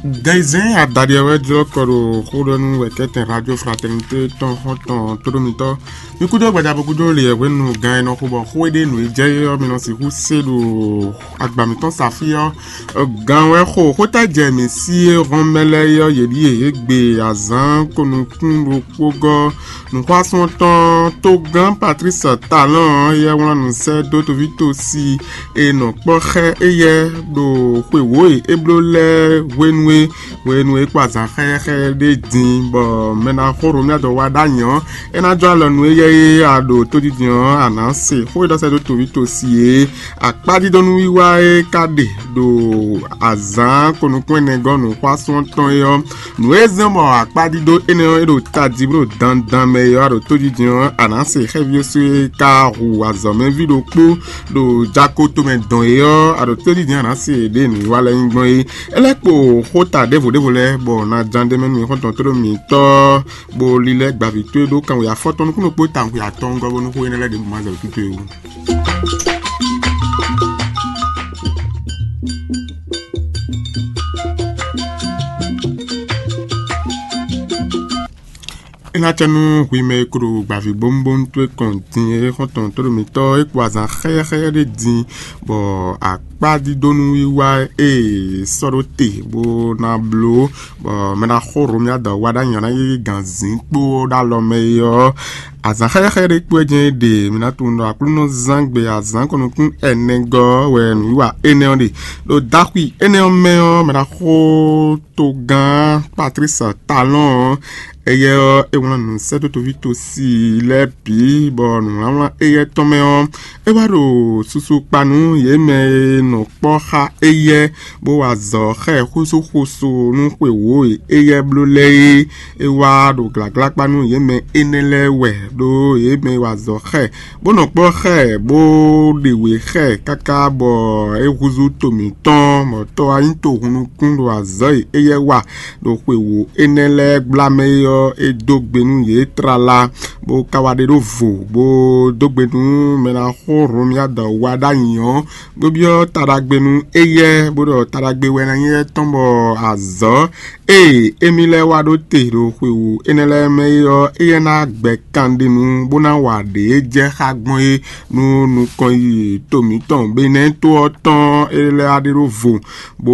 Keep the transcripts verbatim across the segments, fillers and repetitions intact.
Gɛnzɛn adaɖi ɔ́ wɛ jlɔ́ kɔ ɖo xó ɖɔ nú wɛ̌kɛ́tɛn Radio Fraternité tɔn xɔ́ntɔn tóɖómitɔ́. Mi kúdó gbadza bo kúdó lě hwenu gán e nɔ xo bɔ xó e ɖe nǔ e jɛ é ɔ́, mi nɔ sixú se ɖo agba mǐtɔn Safí ɔ́. Gán wɛ xo xóta jɛ mǐ sí e hɔn mɛ lɛ́ɛ é ɔ́, yě ɖíe: yě gbe azǎn ko nukún ɖokpó gɔ́ nǔxwásún tɔn togán Patlísi Talɔ́n ɔ́, éyɛ́ wlán nǔ sɛ́ dó toví tosi e nɔ kpɔ́ xá éyɛ́ ɖo xwe wǒ e é bló lɛ́ɛ hwenu e hwenu e é kpó azǎn xɛ́xɛ́ ɖé din, bɔ mɛ ná xó Romia dɔ wá ɖ'ayǐ ɔ́, é ná jó alɔ nú éyɛ́ e a ɖo tójijɛ ɔ́, a nǎ se xó e ɖɔ sɛ́ dó toví tosi e akpájídónúwiwa e ka ɖe ɖo azǎn ko nukún ɛnɛ gɔ́ nǔxwásún ɔ́ tɔn é ɔ́. Nǔ e zɔ́n bɔ akpájídó énɛ́ ɔ́ é ɖo tají bó ɖo dandan mɛ é ɔ́, a ɖo tójijɛ ɔ́, a nǎ se xɛ́ví ɔ́ sú e ka hu azɔ̌mɛví ɖokpó ɖo jako tomɛ dɔn é ɔ́, a ɖo tójijɛ a nǎ se ɖě nǔwiwa lɛ́ɛ nyí gbɔn é. É lɛ́ kpo xóta ɖěvo ɖěvo lɛ́ɛ, bɔ na ján ɖ'é mɛ nú xɔ́ntɔn tóɖó mǐtɔn, bó lílɛ́ gbaví towe ɖó kanwe afɔtɔn nukúnnú kpó tawun xwe atɔngɔ́ bónú xó énɛ́ lɛ́ɛ ɖěbǔ ma zɛ wǔ títú e wú. É ná cɛ nú hwi mɛ e ko ɖo gbaví bónúbónú towe kɔn din é xɔ́ntɔn tóɖó mǐtɔn é kpo azǎn xɛ́yɛ́xɛ́yɛ́ ɖé din, bɔ akpájídónúwiwa e è sɔ́ ɖó te bó ná bló, bɔ mɛ ná xó Romia dɔ wá ɖ'ayǐ ɔ́ ná yí gǎnzín kpó ɖ'alɔ mɛ é ɔ́, azǎn xɛ́xɛ́ ɖé kpó wɛ jɛ́n é ɖe. Mi ná tunwun ɖɔ Aklúnɔzán gbe azǎn kɔnukún ɛnɛ gɔ́ wɛ nǔwiwa énɛ́ ɔ́ ɖe. Ɖo daxwi énɛ́ ɔ́ mɛ ɔ́, mɛ ná xó togán Patlísi Talɔ́n ɔ́, éyɛ́ ɔ́, é wlán nǔ sɛ́ dó toví tosi lɛ́ɛ bǐ, bɔ nǔwlánwlán éyɛ́ tɔn mɛ ɔ́, é wá ɖo susu kpa nú yě mɛ e nɔ kpɔ́ xá éyɛ́, bó wa azɔ̌ xá ɛ xósúxósú nú xwe wǒ e éyɛ́ bló lɛ́ɛ é. É wá ɖo glǎglá kpa nú yě mɛ énɛ́ lɛ́ɛ wɛ, ɖó yě mɛ e wa azɔ̌ xá ɛ, bó nɔ kpɔ́ xá ɛ, bó ɖe wě xá ɛ káká bɔ é húzú to mǐtɔn, bɔ tɔ́ wá nyí tohunnukún ɖo azɔ̌ e éyɛ́ wa ɖo xwe wǒ énɛ́ lɛ́ɛ gbla mɛ é ɔ́, é dó gbe nú yě tlala, bó ka wá ɖe ɖó vo, bó dó gbe nú mɛ ná xó Hlomia dɔ wá ɖ'ayǐ ɔ́, bó byɔ́ taɖagbe nú éyɛ́, bó ɖɔ taɖagbe wɛ ná nyí étɔn, bɔ azɔ̌ e émí lɛ́ɛ wá ɖó te ɖo xwe wǒ énɛ́ lɛ́ɛ mɛ é ɔ́, éyɛ́ ná gbɛ kanɖinu bó ná wa ɖě jɛ xá gbɔn é nú nukɔn yiyi to mǐtɔn Benɛ́ to ɔ́ tɔn é lɛ́ɛ wá ɖe ɖó vo, bó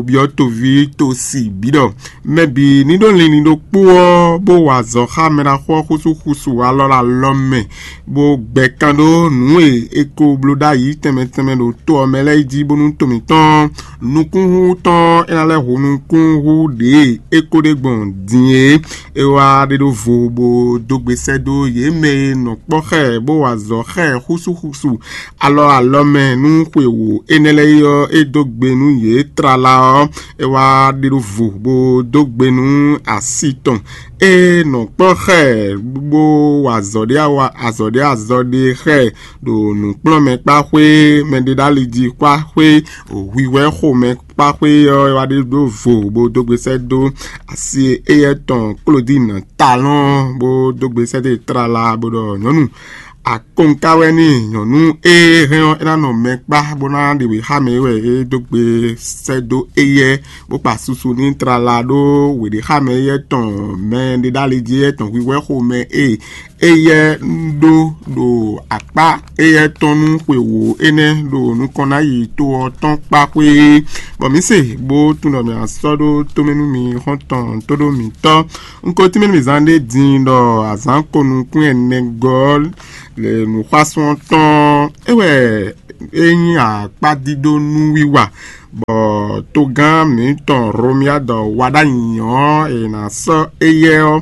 byɔ́ toví tosi bǐ ɖɔ mɛ bǐ ní ɖó linlin ɖokpó ɔ́, bó wa azɔ̌ xá mɛɖaxó ɔ́ xúsúxúsu alɔ ɖo alɔ mɛ, bó gbɛ kan ɖó nǔ e è ko bló ɖ'ayǐ tɛnmɛ tɛnmɛ ɖo to ɔ́ mɛ lɛ́ɛ jí, bónú to mǐtɔn nukúnhú tɔn é ná lɛ́ hu nukúnhú ɖě e é ko ɖe gbɔn din é. É wá ɖe ɖó vo bó dó gbe sɛ́ dó yě mɛ e nɔ kpɔ́ xá ɛ bó wa azɔ̌ xá ɛ xúsúxúsu alɔ alɔ mɛ nú xwe wǒ énɛ́ lɛ́ɛ é ɔ́, é dó gbe nú yě tlala ɔ́, é wá ɖe ɖó vo bó dó gbe nú asi tɔn e nɔ kpɔ́ xá ɛ bó wa azɔ̌ ɖé awa azɔ̌ ɖé azɔ̌ ɖé xá ɛ ɖo nǔkplɔ́nmɛkpáxwé, mɛɖeɖáliji kpáxwé, hwihwɛ́ xomɛkpáxwé ɔ́, é wá ɖe ɖó vo bó dó gbe sɛ́ dó asi éyɛ́ tɔn Klodín Talɔ́n, bó dó gbe sɛ́ dó e tlala bó ɖɔ nyɔ̌nu akɔnká wɛ n'i. Nyɔ̌nu e hɛn ɔ́, é ná nɔ mɛ kpá bó ná ɖe wěxámɛ é wɛ é dó gbe sɛ́ dó éyɛ́, bó kpa susu n'i tlala ɖó wěɖéxámɛ éyɛ́ tɔn mɛɖeɖáliji éyɛ́ tɔn hwihwɛ́ xomɛ e éyɛ́ ɖó ɖo akpá éyɛ́ tɔn nú xwe wǒ énɛ́ ɖo nukɔn ná yi to ɔ́ tɔn kpá xwé, bɔ mǐ se bó tunwun ɖɔ mǐ ná sɔ́ ɖó tómɛ nú mi xɔ́ntɔn tóɖó mǐtɔn. Un ko tínmɛ nú mǐ zán ɖé din ɖɔ azǎn ko nukún ɛnɛ gɔ́ lě nǔxwásún ɔ́ tɔn é wɛ é nyí akpádídó nú wiwa, bɔ togán mǐtɔn Hlomia dɔ wá ɖ'ayǐ ɔ́, è nǎ sɔ́ éyɛ́ ɔ́,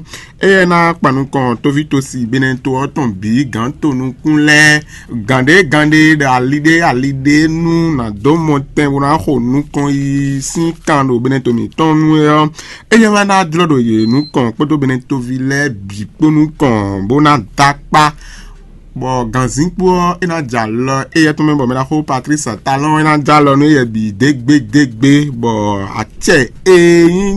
éyɛ́ ná kpan nukɔn tóví tosi Benɛ́to ɔ́ tɔn bǐ gǎn to nukún lɛ́ɛ, gǎn ɖé gǎn ɖé, ɖo ali ɖé ali ɖé nú nǎ dó mɔtɛn bó ná xo nukɔn yi sín kan ɖo Benɛ́to mǐtɔn nu é ɔ́, éyɛ́ wɛ ná jlɔ́ ɖo yě nukɔn kpódó Benɛ́toví lɛ́ɛ bǐ kpó nukɔn bó ná dó akpá. Bɔ gǎnzínkpo ɔ́, é ná jɛ alɔ éyɛ́ tɔn mɛ, bɔ mɛ ɖaxó Patlísi Talɔ́n é ná jɛ alɔ nú éyɛ́ bǐ dégbédégbé, bɔ acɛ e nyí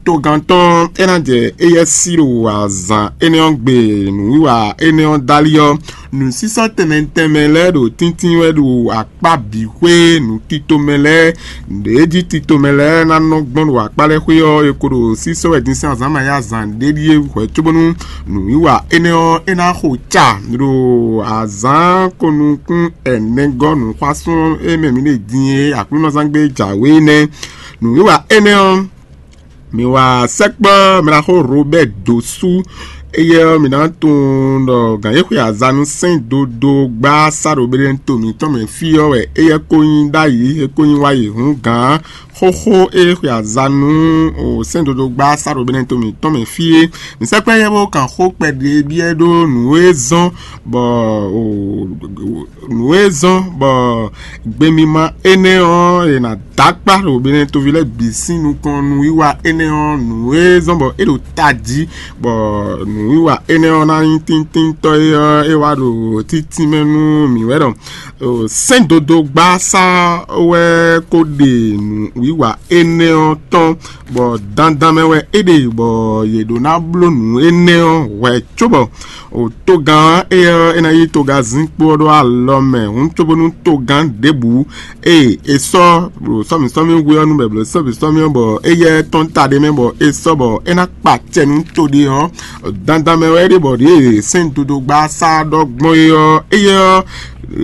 togán tɔn é ná jɛ éyɛ́ sí ɖo azǎn énɛ́ ɔ́ gbe nǔwiwa énɛ́ ɔ́ dali ɔ́, Nǔsísɔ́ tɛnmɛ tɛnmɛ lɛ́ɛ ɖo tíntín wɛ ɖo akpá bǐ xwé. Nǔ titomɛ lɛ́ɛ, nǔɖé jí titomɛ lɛ́ɛ ná nɔ gbɔn ɖo akpá lɛ́ɛ xwé ɔ́, è ko ɖo sísɔ́ wɛ din sín azǎn ma nyí azǎn ɖé ɖíe hwɛ̌ cóbónú nǔwiwa énɛ́ ɔ́, é ná xo ca ɖo azǎn ko nukún ɛnɛgɔ́ nǔxwásún e mɛ mǐ ɖe din e Aklúnɔzángbe jǎwe nɛ́. Nǔwiwa énɛ́ ɔ́, mǐ wa sɛkpɔ́ mlaxó Robɛ́ɛ dǒ sú. Éyɛ́ ɔ́, mǐ ná tunwun ɖɔ gǎn e xwe azanu sɛ́n dodó gbá sá ɖo Beɖénu to mǐtɔn mɛ fí ɔ́ wɛ éyɛ́ ko nyí ɖ'ayǐ; é ko nyí wá yi hǔn gǎn xóxó e xwe azanu sɛ́n dodó gbá sá ɖo Beɖénu to mǐtɔn mɛ fí é. Mǐ sɛkpɔ́ éyɛ́ bó kan xó kpɛɖé byɔ́ ɖó nǔ e zɔ́n bɔ nǔ e zɔ́n bɔ gbemima énɛ́ ɔ́, è nǎ dó akpá ɖo Beɖénu toví lɛ́ɛ bǐ sín nukɔn nǔwiwa énɛ́ ɔ́, nǔ e zɔ́n bɔ é ɖo tají, bɔ nǔwiwa énɛ́ ɔ́ ná nyí tíntíntɔ́ é ɔ́, é wá ɖo títínmɛ nú mǐ wɛ ɖɔ sɛ́n dodó gbá sá wɛ ko ɖe nǔwiwa énɛ́ ɔ́ tɔn, bɔ dandan mɛ wɛ é ɖe, bɔ yě ɖó ná bló nǔ énɛ́ ɔ́ hwɛ̌ cóbɔ togán ɔ́, é ɔ́, é ná yí togán zinkpo ɔ́ ɖó alɔ mɛ hǔn cóbónú togán ɖěbǔ e è sɔ́ ɖo sɔ́mǐsɔ́mí hwe ɔ́ nú bɛ̌bló sɔ́mǐsɔ́mí ɔ́, bɔ éyɛ́ tɔ́n ta ɖé mɛ, bɔ é sɔ́ bɔ é ná kpa acɛ nú to ɖé ɔ́, dandan mɛ wɛ é ɖe bɔ ɖěe sɛ́n dodó gbá sá ɖɔ gbɔn é ɔ́, éyɛ́ ɔ́,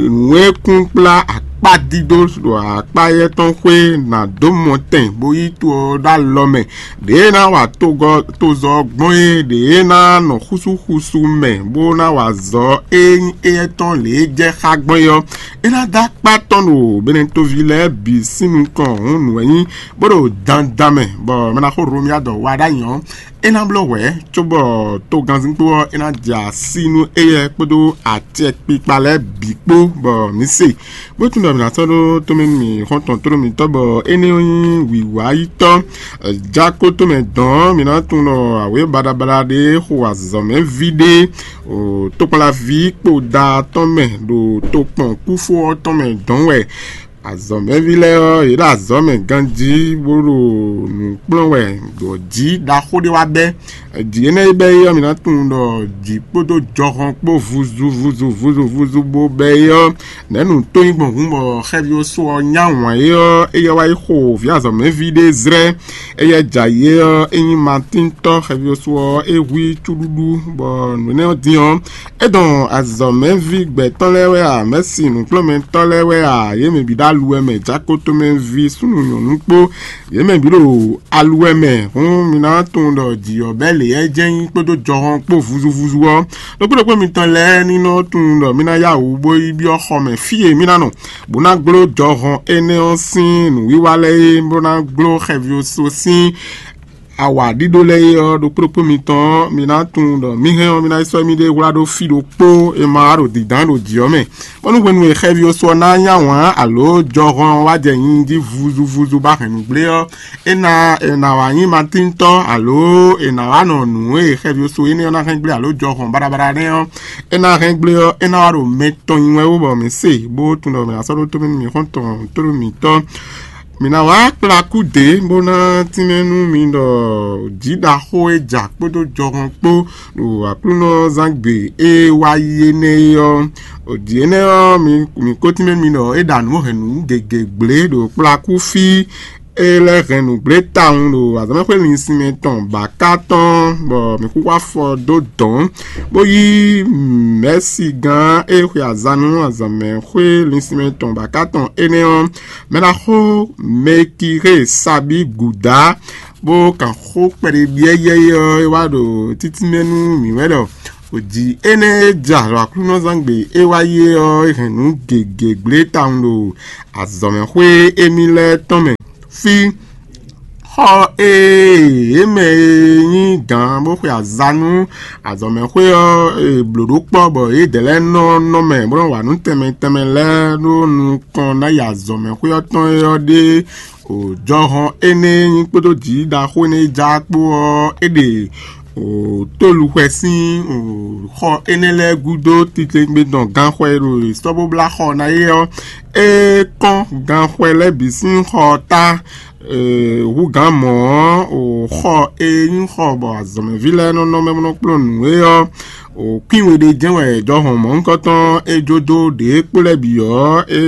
nǔ e kún kplá akpá dídó ɖo akpá éyɛ́ tɔn xwé ná dó mɔ tɛn bó yí to ɔ́ ɖó alɔ mɛ. Ɖě ná wa togɔ tozɔ gbɔn é, ɖě ná nɔ xúsúxúsú mɛ bó ná wa zɔ e nyí éyɛ́ tɔn lě e jɛ xá gbɔn é ɔ́, é ná dó akpá tɔn ɖo Beɖénu toví lɛ́ɛ bǐ sín nukɔn hǔn nǔ wɛ nyí bó ɖo dandan mɛ, bɔ mɛ ná xó Hlomia dɔ wa ɖ'ayǐ ɔ́, é ná bló hwɛ̌, cóbɔ togannzínkpo ɔ́ é ná jɛ así nú éyɛ́ kpódó acɛkpikpa lɛ́ɛ bǐ kpó, bɔ mǐ se. Bó tunwun ɖɔ mǐ ná sɔ́ ɖó tomɛ nú mì xɔ́ntɔn tlóló mǐtɔn, bɔ énɛ́ ɔ́ nyí wǐwáyítɔ́. Jákó tomɛ dɔn ɔ́, mǐ ná tunwun ɖɔ awě baɖabaɖa ɖé xo azɔ̌mɛví ɖé tokpɔnlaví kpo da tɔn mɛ ɖo tokpɔn kúfó ɔ́ tɔn mɛ dɔn wɛ. Azɔ̌mɛví lɛ́ɛ ɔ́, yě ɖo azɔ̌ mɛ ganjí bó ɖo nǔ kplɔ́n wɛ ɖo jǐ ɖaxó ɖé wá bɛ́. Jǐ énɛ́ e bɛ́ é ɔ́, mǐ ná tunwun ɖɔ jǐ kpódó jɔhɔn kpó vuzu vuzu vuzu vuzu bó bɛ́ é ɔ́, nɛ̌ nǔ tó nyí gbɔn hǔn bɔ xɛví ɔ́ só ɔ́ nyá wǎn é ɔ́, éyɛ́ wá yi xo vǐ azɔ̌mɛví ɖé zlɛ́. Éyɛ́ jɛ ayǐ é ɔ́, é nyí Matíntɔ́ xɛví ɔ́ só ɔ́, é hu i cúɖúɖú, bɔ nǔ énɛ́ ɔ́ din ɔ́, é dɔn azɔ̌mɛví gbɛ̌tɔ́ lɛ́ɛ wɛ a, mɛ̌si nǔkplɔ́nmɛtɔ́ lɛ́ɛ wɛ a, yě mɛ bǐ ɖo aluwɛ mɛ, jákótomɛví súnnu nyɔ̌nu kpó, yě mɛ bǐ ɖo aluwɛ mɛ. Hǔn mi ná tunwun ɖɔ jǐ ɔ́ bɛ́ lě ɔ́ jɛ́n nyí kpódó jɔhɔn kpó vuzuvuzu ɔ́. Ɖokpó ɖokpó mitɔn lɛ́ɛ ní nɔ tunwun ɖɔ mí ná yá wǔ bó yi byɔ́ xɔ mɛ fí e mí ná nɔ, bó ná gló jɔhɔn énɛ́ ɔ́ sín nǔwiwa lɛ́ɛ é, bó ná gló xɛví ɔ́ sín awa ɖíɖó lɛ́ɛ é ɔ́. Ɖokpó ɖokpó mitɔn ɔ́, mi ná tunwun ɖɔ mí hɛn ɔ́, mí ná yi sɔ́ émí ɖée hwlá ɖó fí ɖokpó e ma wá ɖo dǐndán ɖo jǐ ɔ́ mɛ, bónú hwenu e xɛví ɔ́ sɔ ná nyá wǎn alǒ jɔhɔn wá jɛ nyi jí vuzuvuzu ba hɛ̌nnu gblé ɔ́, é ná è nǎ wá nyí matíntɔ́, alǒ è nǎ wá nɔ nǔ e xɛví ɔ́ sɔ énɛ́ ɔ́ ná hɛn gblé alǒ jɔhɔn baɖabaɖa nɛ́ ɔ́, é ná hɛn gblé ɔ́, é ná wá ɖo mɛ tɔn nyi wɛ wú bɔ mǐ se, bó tunwun ɖɔ mǐ ná sɔ́ ɖó tómɛ nú mǐ xɔ́ntɔn tlóló mǐtɔn. Mǐ ná wá kplá kú dě bó ná tínmɛ nú mi ɖɔ jǐ ɖaxó e ja kpódó jɔhɔn kpó ɖo Aklúnɔzángbe e wá yi énɛ́ é ɔ́. Jǐ énɛ́ ɔ́, mi mi ko tínmɛ nú mi ɖɔ é ɖa nǔ hɛn nǔ gěgé gblě ɖo kplá kú fí. É lɛ́ hɛn nǔgblé tawun ɖo azɔ̌mɛxwé linsin mɛ tɔn bǎká tɔn, bɔ mǐ xúxú afɔ dó dɔ̌n, bó yí mɛ̌sigán e xwe azan nú azɔ̌mɛxwé linsin mɛ tɔn bǎká tɔn énɛ́ ɔ́, mɛ ná xo Mɛkixée Sabíi gǔdá, bó kan xó kpɛɖé byɔ́ yɛ́yɛ́ ɔ́, é wá ɖo títínmɛ nú mǐ wɛ ɖɔ jǐ énɛ́ e ja ɖo Aklúnɔzángbe e wá yi é ɔ́, é hɛn nǔ gěgé gblé tawun ɖo azɔ̌mɛxwé émí lɛ́ɛ tɔn mɛ. Fí xɔ e yě mɛ e nyí gǎn bó xwe azan nú azɔ̌mɛxwé ɔ́, è blǒ ɖó kpɔ́ bɔ yědɛɛ lɛ́ɛ nɔ nɔ mɛ bó nɔ́ wa nǔ tɛnmɛ tɛnmɛ lɛ́ɛ ɖó nukɔn ná yi azɔ̌mɛxwé ɔ́ tɔn é ɔ́ ɖé. O jɔhɔn énɛ́ e nyí kpódó jǐ ɖaxó énɛ́ e ja kpó ɔ́, é ɖe o tóluxwɛ sín o xɔ énɛ́ lɛ́ɛ gúdo titewungbe tɔn ganxɔ e ɖo sɔ́ bó blá xɔ ná é ɔ́, é kɔn ganxɔ lɛ́ɛ bǐ sín xɔ ɔ́ ta. Húgǎn mɔ̌ ɔ́, o xɔ e nyí xɔ bɔ azɔ̌mɛví lɛ́ɛ nɔ nɔ mɛ bó nɔ kplɔ́n nǔ é ɔ́, o kwín we ɖé jɛ́n wɛ jɔhɔn mɔ̌hunkɔtɔn é jó dó ɖě kpó lɛ́ɛ bǐ ɔ́, é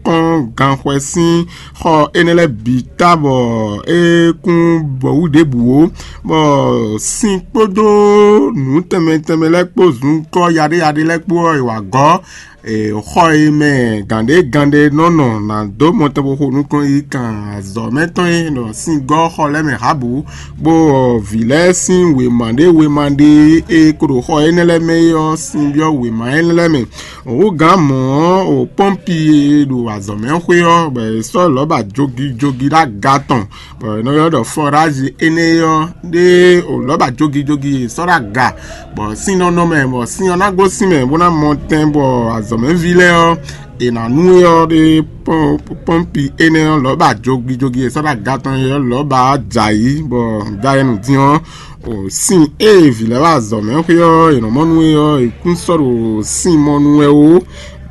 kɔn ganxwɛ sín xɔ énɛ́ lɛ́ɛ bǐ ta bɔ é kún bɔ wú ɖěbǔ ó, bɔ sin kpódó nǔ tɛnmɛ tɛnmɛ lɛ́ɛ kpó zunkɔ́ yaɖéyaɖé lɛ́ɛ kpó ɔ́, è wǎ gɔ́. Xɔ e mɛ gǎnɖé gǎnɖé nɔ nɔ ná dó mɔtɛnxoxo nukɔn yi kan azɔ̌ mɛ tɔn e ɖɔ sín gɔ́ xɔ lɛ́ɛ mɛ hǎbǔ, bó vǐ lɛ́ɛ sín wěma ɖé wěma ɖé e ko ɖo xɔ énɛ́ lɛ́ɛ mɛ é ɔ́, sin byɔ́ wěma énɛ́ lɛ́ɛ mɛ. Hǔgǎn mɔ̌ ɔ́, o pɔ́npi e ɖo azɔ̌ mɛ xwé ɔ́, bɔ è sɔ́ lɔ̌ba jogijogi ɖó aga tɔn, bɔ è nɔ ylɔ́ ɖɔ fɔrázi énɛ́ ɔ́ ɖé o lɔ̌ba jogijogi e sɔ́ ɖó aga, bɔ sín nɔ nɔ mɛ, bɔ sín ɔ́ ná gosín mɛ bó ná mɔ tɛn, bɔ azɔ̌mɛví lɛ́ɛ ɔ́, è nǎ nú é ɔ́ ɖé pɔ́npi énɛ́ ɔ́ lɔ̌ba jogijogi e sɔ́ ɖó aga tɔn é ɔ́ lɔ̌ba jɛ ayǐ, bɔ dayɛnu din ɔ́, o sin e vǐ lɛ́ɛ wá azɔ̌ mɛ xwé ɔ́, è nɔ mɔ nú é ɔ́, è kún sɔ́ ɖo sin mɔ nú wɛ ó.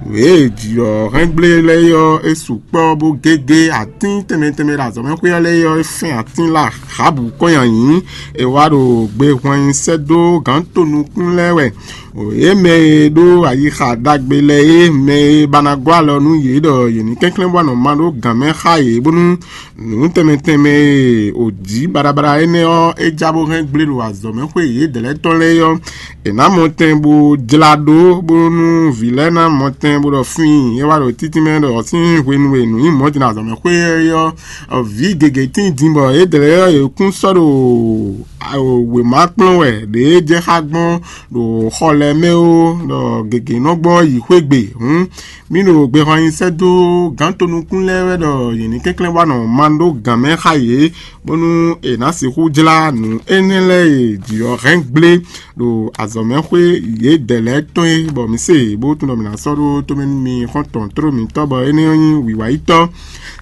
Nǔ e jǐ ɔ́ hɛn gblé lɛ́ɛ é ɔ́, é sukpɔ́ bó gégé atín tɛnmɛ tɛnmɛ ɖo azɔ̌ mɛ xwé ɔ́ lɛ́ɛ é ɔ́, é fɛ́n atín lɔ Ahabu kɔn nyi ayǐ. È wá ɖo gbe hwan nyi sɛ́ dó gǎn tonukún lɛ́ɛ wɛ. Yě mɛ e ɖó ayixa ɖagbe lɛ́ɛ é, mɛ e ba ná gɔ́ alɔ nú yě ɖɔ yě ní kɛnklɛ́n bó wá nɔ ma ɖó gǎn mɛ xá yě, bónú nǔ tɛnmɛ tɛnmɛ e ò jǐ baɖabaɖa énɛ́ ɔ́, é já bó hɛn gblé ɖo azɔ̌ mɛ xwé yědɛɛ lɛ́ɛ tɔn lɛ́ɛ ɔ́, è nǎ mɔ tɛn bó jlá ɖó, bónú vǐ lɛ́ɛ ná mɔ tɛn bó ɖɔ fíin é wá ɖo títí mɛ ɖɔ sín hwenu e nǔ nyí mɔ̌ din azɔ̌ mɛ xwé ɔ́, vǐ gěgé tín din bɔ yědɛɛ lɛ́ɛ ɔ́, yě kún sɔ́ ɖo wěma kplɔ́n wɛ ɖě jɛ xá gbɔn ɖo xɔ lɛ́ɛ mɛ ó, ɖɔ gěgé nɔ gbɔ yi xwé gbe. Hǔn mì ɖo gbexɔ nyi sɛ́ dó gǎn tonukún lɛ́ɛ wɛ ɖɔ yě ní kɛnklɛ́n wá nɔ ma ɖó gǎn mɛ xá yě, bónú è nǎ sixú jlá nǔ énɛ́ lɛ́ɛ e jǐ ɔ́ hɛn gblé ɖo azɔ̌mɛxwé yědɛɛ lɛ́ɛ tɔn é, bɔ mǐ se bó tunwun ɖɔ mǐ ná sɔ́ ɖó tomɛ nú mi xɔ́ntɔn tló mǐtɔn, bɔ énɛ́ ɔ́ nyí wǐwáyítɔ́.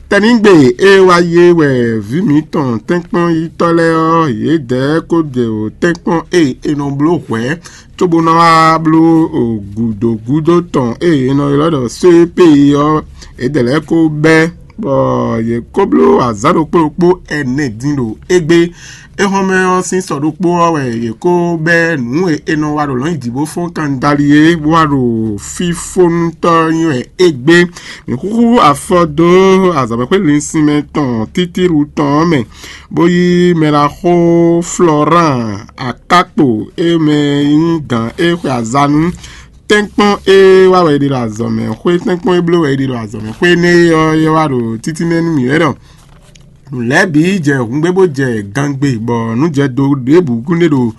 Tɛnígbe e wá yé wɛ vǐ mǐtɔn tɛ́nkpɔ́nyítɔ́ lɛ́ɛ ɔ́, yědɛɛ kó ɖe o tɛ́nkpɔ́n e è nɔ bló hwɛ̌ cóbó ná wá bló gǔdo gúdo tɔn e è nɔ ylɔ́ ɖɔ sépéyi ɔ́, yědɛɛ lɛ́ɛ kó bɛ́, bɔ yě kó bló azǎn ɖokpó ɖokpó ɛnɛ din ɖo égbé. Éhɔ́nmɛ ɔ́ sín sɔ ɖokpó ɔ́ wɛ yě kó bɛ́ nǔ e è nɔ wa ɖo lɔ̌nyijǐ bó fɔ́n kandali é, bó wá ɖo fífónútɔ́ nyi wɛ égbé. Mǐ xúxú afɔ dó azɔ̌mɛxwé linsinmɛ tɔn títíru tɔn ɔ́ mɛ, bó yí mɛɖaxó Florán Akákpo e mɛ nyí gǎn é xwe aza nú. Tɛ́nkpɔ́n e wá wɛ è ɖe ɖo azɔ̌mɛxwé, tɛ́nkpɔ́n e bló wɛ è ɖe ɖo azɔ̌mɛxwé énɛ́ é ɔ́, é wá ɖo títínmɛ nú mǐ wɛ ɖɔ nǔ lɛ́ɛ bǐ jɛ hǔngbé bó jɛ gangbe, bɔ nǔ jɛ do ɖěbǔ kúnɖé ɖo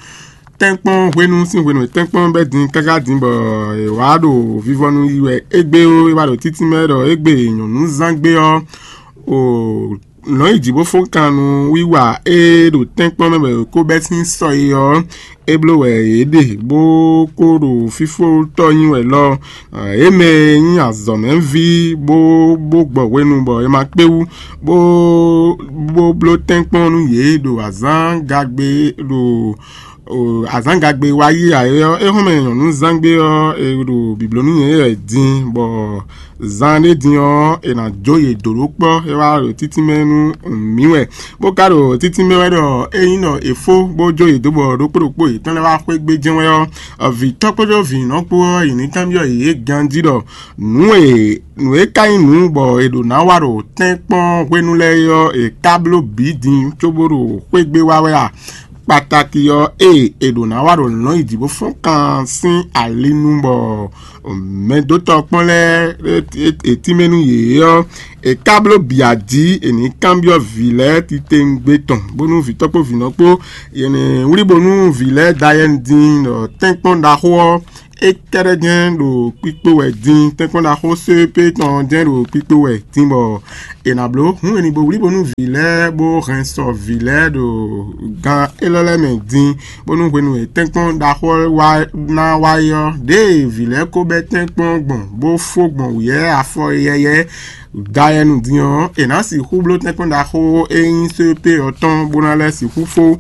tɛ́nkpɔ́n hwenu sín hwenu e tɛ́nkpɔ́n bɛ́ din káká din, bɔ è wǎ ɖo vivɔnu yi wɛ égbé ó, é wá ɖo títínmɛ ɖɔ égbé nyɔ̌núzángbé ɔ́, o lɔ̌nyijǐ bó fɔ́n kan nú wiwa e ɖo tɛ́nkpɔ́n mɛ bɔ è ko bɛ́ sín sɔ é ɔ́, é bló wɛ yě ɖe, bó kó ɖo fífótɔ́ nyi wɛ lɔ. Yě mɛ e nyí azɔ̌mɛví bó bó gbɔ hwenu bɔ è ma kpé wú, bó bó bló tɛ́nkpɔ́n nú yě ɖo azǎngagbe ɖo azǎngagbe wá yí ǎ é ɔ́, é hɔn mɛ nyɔ̌núzángbé ɔ́, è ɖo bǐbló nú nyɛ wɛ din, bɔ zan ɖé din ɔ́, è nǎ jó yě dó ɖó kpɔ́, é wá ɖo títínmɛ nú mǐ wɛ, bó ka ɖo títínmɛ wɛ ɖɔ ényí nɔ è fó bó jó yě dó bɔ ɖokpó ɖokpó yětɔn lɛ́ɛ wá xwé gbé jɛ́n wɛ ɔ́, vǐ tɔ́ kpódó vǐ nɔ kpó ɔ́, yě ní kanbyɔ́ yě ganjí ɖɔ nǔ e nǔ e ka nyí nǔ bɔ è ɖo ná wa ɖo tɛ́nkpɔ́n hwenu lɛ́ɛ é ɔ́, è ka bló bǐ din cóbó ɖo xwé gbé wá wɛ a? Kpatáki ɔ́, ée è ɖǒ ná wá ɖo lɔ̌nyijǐ bó fɔ́n kan sín ali nu bɔ mɛdótɔ́ kpɔ́n lɛ́ɛ è tínmɛ nú yě ɔ́, è ka bló bǐ ají è nǐ kanbyɔ́ vǐ lɛ́ɛ titewungbe tɔn, bónú vǐtɔ́ kpó vǐnɔ kpó è nǐ wlí bónú vǐ lɛ́ɛ da yɛ din ɖɔ tɛ́nkpɔ́n ɖaxó ɔ́, é kɛ́ɖɛ́ jɛ́n ɖo kpikpo wɛ din, tɛ́nkpɔ́n ɖaxó sépé tɔn jɛ́n ɖo kpikpo wɛ din bɔ è nǎ bló hǔn e ní bo wlí bónú vǐ lɛ́ɛ bó hɛn sɔ vǐ lɛ́ɛ ɖo gan élɔ́ lɛ́ɛ mɛ din, bónú hwenu e tɛ́nkpɔ́n ɖaxó ɔ́ wá ná wá yi ɔ́, ɖěe vǐ lɛ́ɛ ko bɛ́ tɛ́nkpɔ́n gbɔn bó fó gbɔn wǔyɛ́ afɔ yɛyɛ́ dayɛnu din ɔ́, è nǎ sixú bló tɛ́nkpɔ́n ɖaxó e nyí sépé ɔ́ tɔn bó ná lɛ́ sixú fó.